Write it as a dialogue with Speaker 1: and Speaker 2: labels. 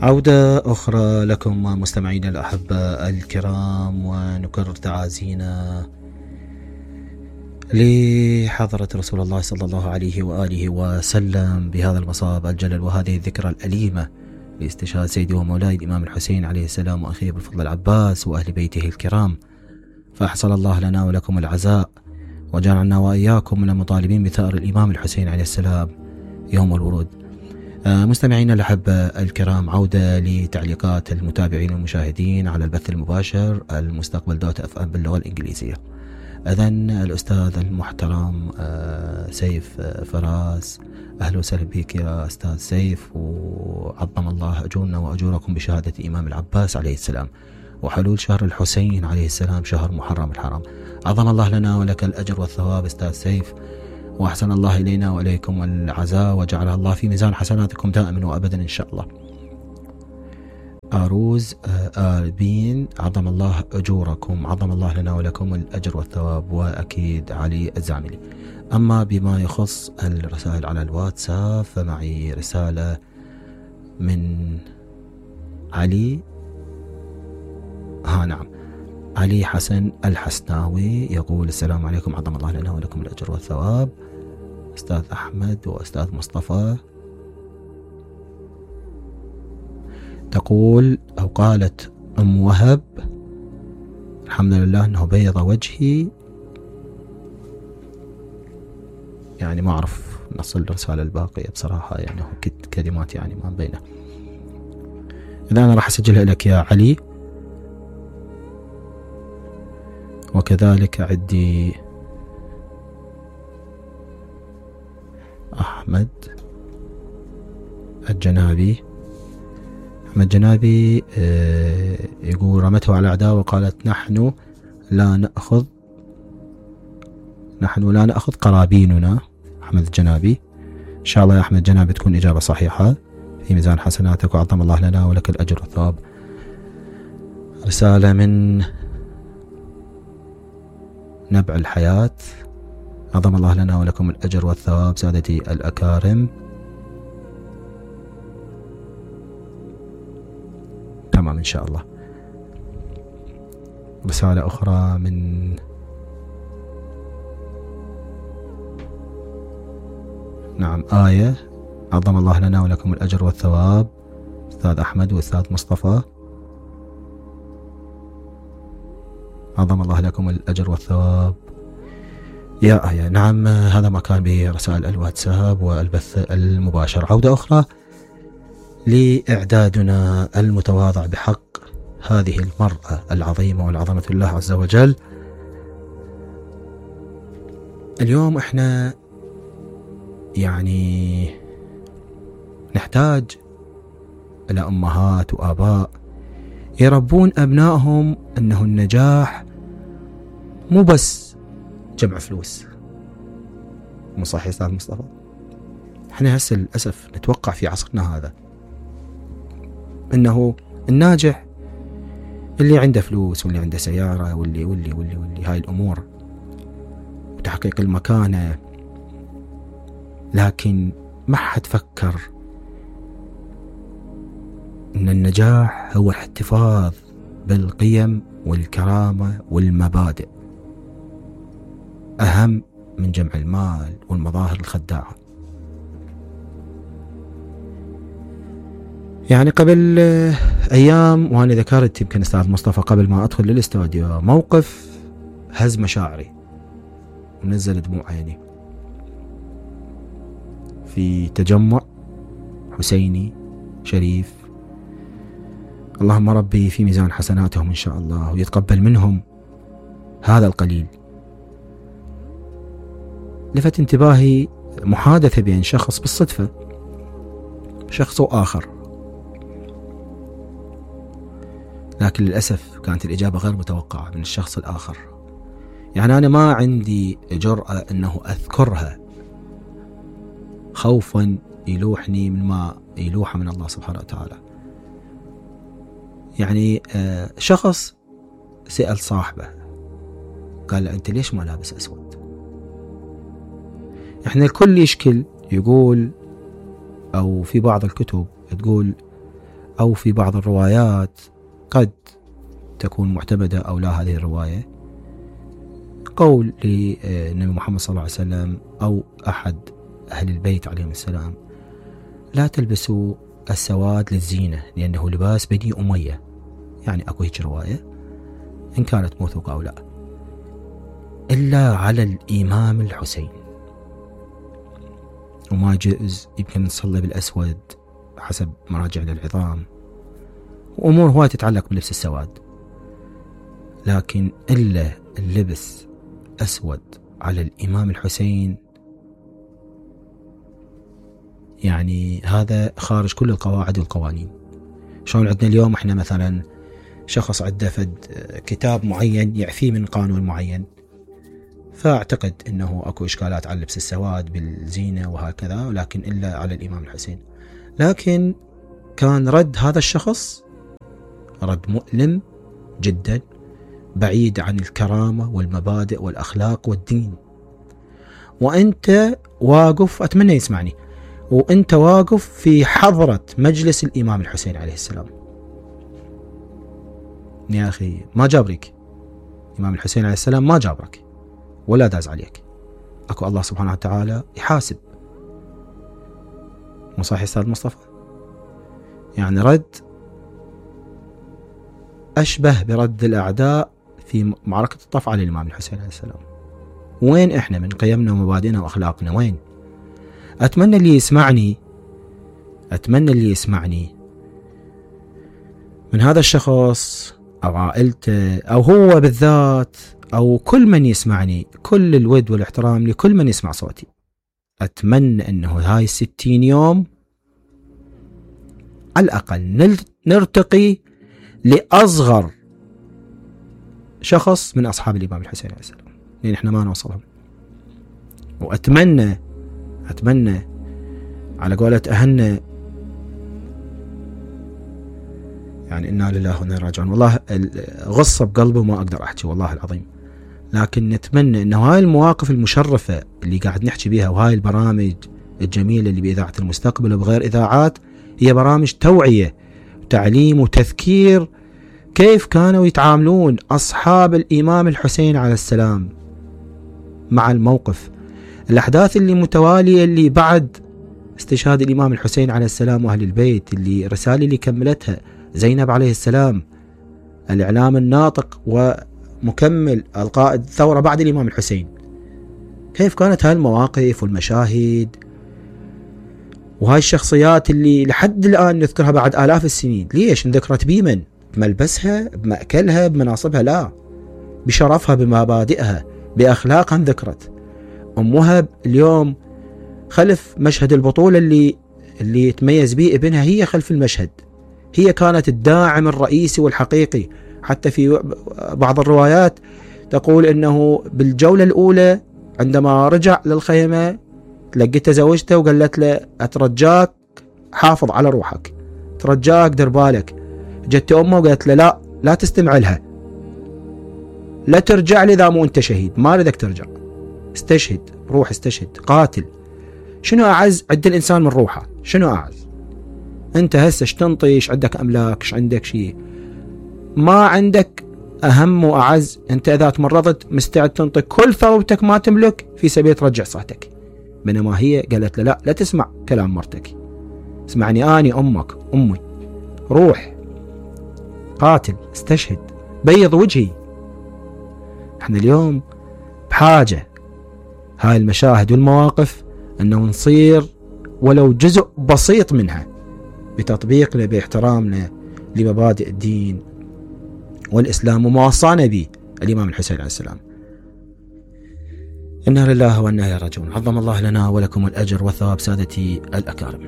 Speaker 1: عودة أخرى لكم مستمعينا الأحبة الكرام، ونكرر تعازينا لحضرة رسول الله صلى الله عليه وآله وسلم بهذا المصاب الجلل وهذه الذكرى الأليمة لاستشهاد سيدي ومولاي الإمام الحسين عليه السلام وأخيه بالفضل العباس وأهل بيته الكرام. فأحسن الله لنا ولكم العزاء، وجعلنا وإياكم من المطالبين بثأر الإمام الحسين عليه السلام يوم الورود. مستمعينا الأحبة الكرام، عودة لتعليقات المتابعين والمشاهدين على البث المباشر المستقبل .fm باللغة الإنجليزية. إذن الأستاذ المحترم سيف فراس، أهلا وسهلا بك يا أستاذ سيف، وعظم الله أجورنا وأجوركم بشهادة إمام العباس عليه السلام وحلول شهر الحسين عليه السلام شهر محرم الحرام. عظم الله لنا ولك الأجر والثواب أستاذ سيف، وأحسن الله إلينا وإليكم العزاء وجعلها الله في ميزان حسناتكم دائما وأبدا إن شاء الله. أروز آربين، عظم الله أجوركم، عظم الله لنا ولكم الأجر والثواب، وأكيد علي الزعملي. أما بما يخص الرسائل على الواتساب فمعي رسالة من علي نعم علي حسن الحسناوي، يقول السلام عليكم، عظم الله لنا ولكم الأجر والثواب أستاذ أحمد وأستاذ مصطفى. تقول أو قالت أم وهب، الحمد لله أنه بيض وجهي، يعني ما أعرف نصل الرسالة الباقية بصراحة، يعني كلمات يعني ما بينه. إذا أنا راح أسجلها لك يا علي، وكذلك عندي أحمد الجنابي. أحمد جنابي يقول رمته على أعداء وقالت نحن لا نأخذ قرابيننا. أحمد الجنابي، إن شاء الله يا أحمد جنابي تكون إجابة صحيحة في ميزان حسناتك، وعظم الله لنا ولك الأجر والثواب. رسالة من نبع الحياة، عظم الله لنا ولكم الأجر والثواب سادتي الأكارم. تمام إن شاء الله. رسالة أخرى من آية، عظم الله لنا ولكم الأجر والثواب أستاذ أحمد وأستاذ مصطفى، عظم الله لكم الأجر والثواب يا آية. نعم، هذا ما كان به رسائل الواتساب والبث المباشر. عودة أخرى لإعدادنا المتواضع بحق هذه المرأة العظيمة والعظمة الله عز وجل. اليوم احنا يعني نحتاج إلى أمهات وآباء يربون أبنائهم أنه النجاح مو بس جمع فلوس. مو صحيح أستاذ مصطفى؟ احنا هسه للأسف نتوقع في عصرنا هذا أنه الناجح اللي عنده فلوس واللي عنده سيارة واللي هاي الأمور وتحقيق المكانة، لكن ما حد فكر أن النجاح هو الاحتفاظ بالقيم والكرامة والمبادئ أهم من جمع المال والمظاهر الخداعة. يعني قبل أيام وأنا ذكرت يمكن أستاذ مصطفى قبل ما أدخل للاستوديو موقف هز مشاعري ونزل دموع عيني في تجمع حسيني شريف. اللهم ربي في ميزان حسناتهم إن شاء الله ويتقبل منهم هذا القليل. لفت انتباهي محادثة بين شخص بالصدفة، شخص آخر، لكن للأسف كانت الإجابة غير متوقعة من الشخص الآخر. يعني أنا ما عندي جرأة أنه أذكرها خوفا يلوحني من ما يلوح من الله سبحانه وتعالى. يعني شخص سأل صاحبه قال له أنت ليش ما لابس أسود؟ احنا الكل يشكل يقول، أو في بعض الكتب تقول أو في بعض الروايات قد تكون معتمدة أو لا هذه الرواية، قول للنبي محمد صلى الله عليه وسلم أو أحد أهل البيت عليهم السلام: لا تلبسوا السواد للزينة لأنه لباس بني أمية. يعني أكو هيك رواية إن كانت موثوقة أو لا، إلا على الإمام الحسين. وما يجوز يمكن نصلي بالأسود حسب مراجع للعظام، وأمور هواي تتعلق بلبس السواد، لكن إلا اللبس أسود على الإمام الحسين يعني هذا خارج كل القواعد والقوانين. شلون عندنا اليوم احنا مثلا شخص عنده فد كتاب معين يعفيه من قانون معين، فاعتقد انه اكو اشكالات على لبس السواد بالزينة وهكذا، ولكن الا على الامام الحسين. لكن كان رد هذا الشخص رد مؤلم جدا، بعيد عن الكرامة والمبادئ والاخلاق والدين. وانت واقف، اتمنى يسمعني، وانت واقف في حضرة مجلس الامام الحسين عليه السلام. يا اخي ما جابرك الامام الحسين عليه السلام، ما جابرك ولا داز عليك. اكو الله سبحانه وتعالى يحاسب. مو صحيح استاذ مصطفى؟ يعني رد اشبه برد الاعداء في معركة الطف على الامام الحسين عليه السلام. وين احنا من قيمنا ومبادئنا واخلاقنا؟ وين؟ اتمنى اللي يسمعني من هذا الشخص او عائلته او هو بالذات او كل من يسمعني، كل الود والاحترام لكل من يسمع صوتي، اتمنى انه هاي 60 يوم على الاقل نرتقي لاصغر شخص من اصحاب الامام الحسين عليه السلام، لان احنا ما نوصلهم. واتمنى على قولة اهلنا يعني إنا لله وإنا إليه راجعون، والله غصة بقلبي وما أقدر أحكي والله العظيم. لكن نتمنى إنه هاي المواقف المشرفة اللي قاعد نحكي بيها وهاي البرامج الجميلة اللي بإذاعة المستقبل وبغير إذاعات هي برامج توعية وتعليم وتذكير كيف كانوا يتعاملون أصحاب الإمام الحسين عليه السلام مع الموقف. الأحداث اللي متوالية اللي بعد استشهاد الإمام الحسين عليه السلام وأهل البيت، اللي رسالة اللي كملتها زينب عليه السلام، الإعلام الناطق ومكمل القائد الثورة بعد الإمام الحسين، كيف كانت هاي المواقف والمشاهد وهاي الشخصيات اللي لحد الآن نذكرها بعد آلاف السنين. ليش انذكرت؟ بمن؟ بملبسها، بمأكلها، بمناصبها؟ لا، بشرفها، بمبادئها، بأخلاقها انذكرت. أم وهب اليوم خلف مشهد البطولة اللي تميز به ابنها، هي خلف المشهد، هي كانت الداعم الرئيسي والحقيقي. حتى في بعض الروايات تقول انه بالجولة الاولى عندما رجع للخيمة لقيته زوجته وقالت له اترجاك حافظ على روحك، ترجاك دير بالك. جت امه وقالت له لا تستمع لها، لا ترجع لي اذا مو انت شهيد، ما اريدك ترجع، استشهد، روح استشهد، قاتل. شنو اعز عند الانسان من روحه؟ شنو اعز؟ انت هسه ايش تنطي؟ ايش عندك املاك؟ ايش عندك شيء؟ ما عندك اهم واعز. انت اذا تمرضت مستعد تنطي كل ثروتك ما تملك في سبيل ترجع صحتك. بينما هي قالت له لا تسمع كلام مرتك، اسمعني اني امك، امي، روح قاتل، استشهد، بيض وجهي. احنا اليوم بحاجة هاي المشاهد والمواقف انه نصير ولو جزء بسيط منها بتطبيقنا باحترامنا لمبادئ الدين والإسلام وما وصانا به الإمام الحسين عليه السلام. إنا لله وإنا إليه راجعون. عظم الله لنا ولكم الأجر والثواب سادتي الأكارم.